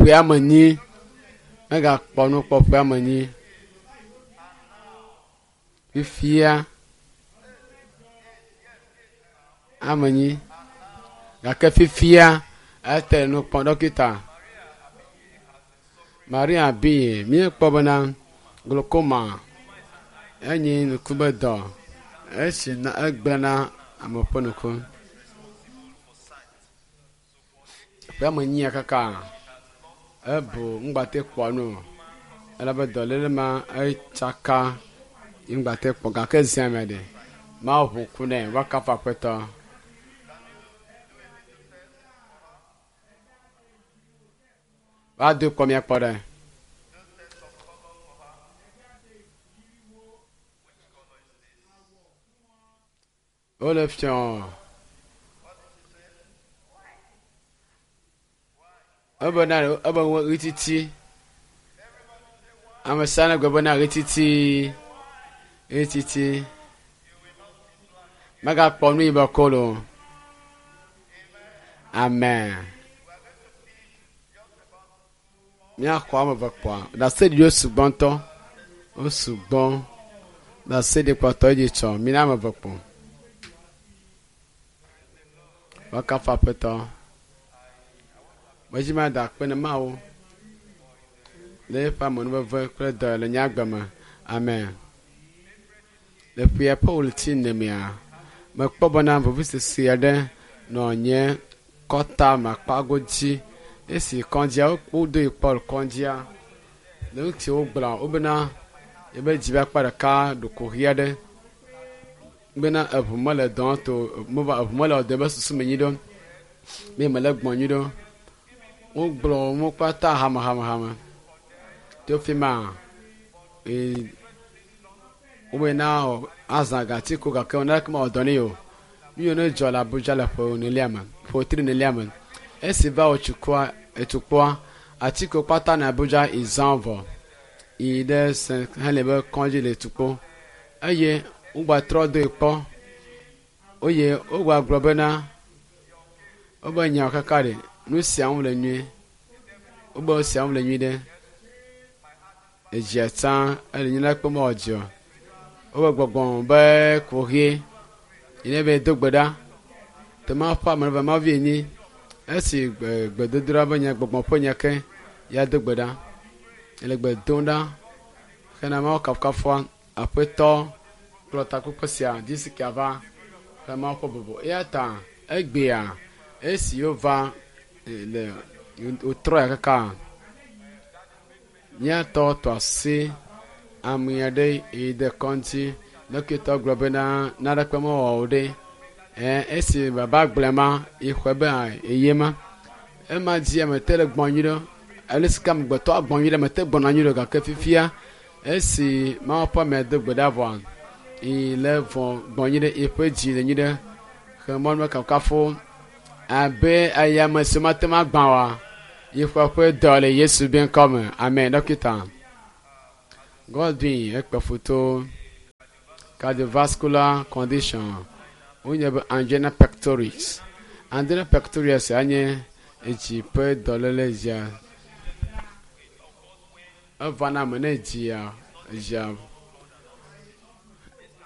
ƒe ame nyi. Megakpɔ nu kpɔ ƒe ame nyi. Fifia ame nyi. Gake fifia ete nu kpɔm ɖɔkita. Maria bi míekpɔ bena glaucoma enyi ŋku be dɔ esi na egblẽna ame ƒe ŋku. Ƒe ame nyia kaka ebu ŋgbate kpɔ nu o elabe dɔléle ma etsaka ŋgbate kpɔ gake zia me ɖe Mawu ʋu ŋku nɛ woakafu Aƒetɔ. Va do kpɔ míakpɔ ɖe. Wole fiɔ. Ebe na ebe ɣititi. Ame sia ne gblɔ bena ɣititi. Ɣititi. Megakpɔ nu yibɔ kolo. Amen. Míaxɔ ame eve kpɔa. Ɖaseɖiɖiwo sugbɔ ŋutɔ. Wo sugbɔ. Ɖaseɖikpɔtɔ dzi tsɔ. Mina ame eve kpɔ. Woakafu Aƒetɔ. Medzi mada akpe ne Mawu le eƒe amenuveve kple dɔ le nye agbe me. Amen. Le ƒea ƒe ɣleti ene mea, mekpɔ bena vevisese aɖe nɔ nye kɔta me akpago dzi. Esi kɔdzia wodoe kpɔ le kɔdzia, le nu si wogblɔ wobena yebe dzi ƒe akpa ɖeka ɖo kuxi aɖe bena eŋu mele dɔ to meva eŋu mele dɔ be susu me nyuie ɖo be mele gbɔ nyuie ɖo. Wogblɔ wo kpata hamehamehame to fi ma ee wobena azã gati ko gake naneke mewɔ dɔ nɛ o. Nu yiwo ne dzɔ le Abuja le ƒe enelia me ƒe tri enelia me esi va wòtsi kua etu kpɔa atikewo kpata nɔ Abuja yi zã vɔ yi ɖe St. Helen be kɔdzi le tukpo eye wogbatrɔ doe kpɔ eye wogagblɔ bena wobe nyawo kaka ɖe nu sia ŋu le nyuie wobe nu sia ŋu le nyuie ɖe edzia tsã ele nyina kpɔm mewɔ dzi o wobe gbɔgbɔ be kuxi yi ne be do gbe ɖa tema ƒe ame ve mavi nyi esi gbedodoɖa be nye gbɔgbɔ ƒe nye ke ya do gbe ɖa ele gbe dom ɖa hena Mawu kafukafua Aƒetɔ kplɔ takpekpe sia disikia va he Mawu ƒe bubu eya ta egbea esi wova le wotrɔ ya kaka míatɔ tɔ asi ame aɖe yi de kɔŋdzi ɖɔkitɔ gblɔ bena naneke mewɔ o ɖe esi baba gblɔe ma yi xɔe be eye ma ema dzi ame te le gbɔ nyuie ɖo ale si ke amegbetɔ agbɔ nyuie ɖe ame te gbɔna nyuie ɖo gake fifia esi Mawu ƒe amea do gbe ɖa vɔa yi le vɔ gbɔ nyuie ɖe eƒe dzi le nyuie ɖe he mɔnu kafukafu abe ayame si mate ŋu agbã oa yi ƒe ƒe dɔ le Yesu be ŋkɔ me amen ɖɔkita Godwin ekpe foto cardiovascular condition wonye be angina pectoris angina pectoris anye edzi ƒe dɔléle dzia evana ame ne dzia dzia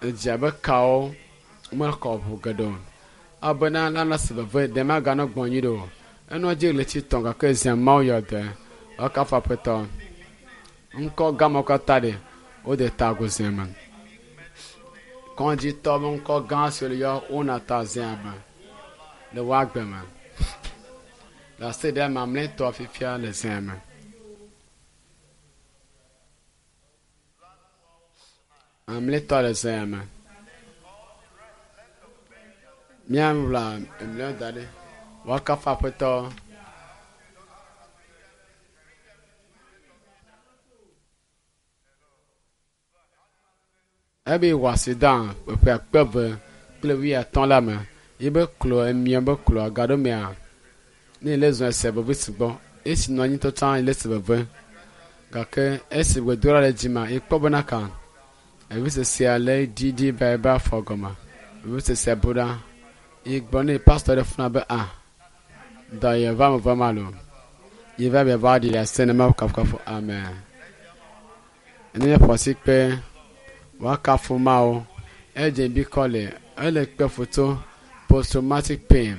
edzia be kawo mekɔ ʋu geɖe o abena nane si veve ɖe maganɔ gbɔ nyuie ɖe o enɔ dzi ɣleti tɔ̃ gake zia Mawu yɔ dɔe woakafu Aƒetɔ ŋkɔ gamawo katã ɖe wode ta agu zia me kɔdzitɔ be ŋkɔ gã si wole yɔ wona ta zia me le wo agbe me le asi ɖe mamlɛtɔ fifia le zia me. Mamlɛtɔ le zia me. Míawla emlɔ da ɖi. Woakafu Aƒetɔ. Ebe wɔ accident ƒe akpe eve kple wuiatɔ̃ la me yi be klo emia be klo gaɖo mea ne le zɔn ese veve sugbɔ esi nɔ anyi tɔtɔ le se veve gake esi gbedoɖa le dzi ma ekpɔ bena ka vevisesea le ɖiɖi va ebe afɔ gɔme vevisesea bu ɖa yi gblɔ ne pastor ɖe funa be a dɔ ye va me va ma lo Yi va be va ɖi ɖase ne Mawu kafukafu. Amen. Ne míaƒo asi kpe woakafu Mawu. Edze bi kɔ le ele kpe foto post traumatic pain.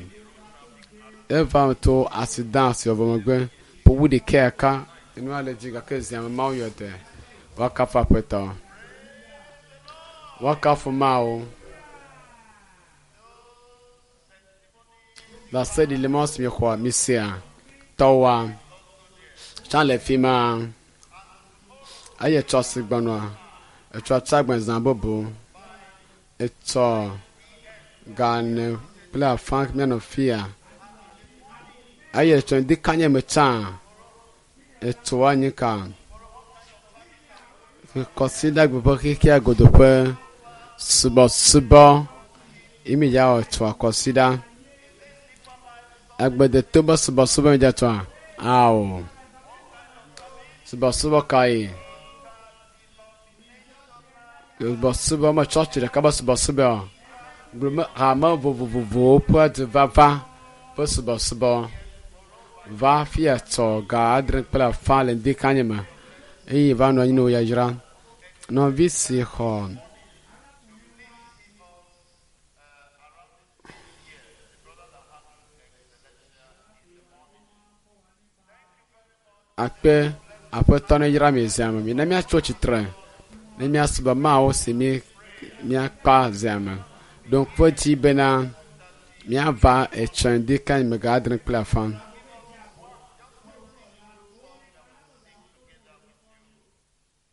Eva to accident si wɔ megbe ƒowu ɖeka ka enua le dzi gake zia me Mawu yɔ dɔe. Woakafu Aƒetɔ. Woakafu Mawu. Ɖaseɖi le mɔ si miexɔ misea tɔwoa tsã le fi ma eye tsɔ si gbɔnɔa etsɔ tsagbɛ zã bubu etsɔ gane kple afã mianɔ fia eye etsɔ ŋdi kanye me tsã etso anyi ka kɔsiɖagbe ƒe xexea godo ƒe subɔsubɔ imi ya wɔ tsoa kɔsiɖa agbedeto be subɔsubɔ mi dza tsoa ao subɔsubɔ kae subɔsubɔ me tsɔtsi ɖeka be subɔsubɔ gblɔ hame vovovovowo ƒe dzivava ƒe subɔsubɔ va fia tsɔ ga adre kple afã le ŋdi kanye me eye va nɔ anyi ne wo yayra nɔvi si xɔ akpe aƒetɔ ne yra mi zia me mi ne míatso tsitre ne míasubɔ Mawu si mi míakpa zia me ɖo ŋku edzi bena míava etsɔ ŋdi kanye me ga adre kple afã.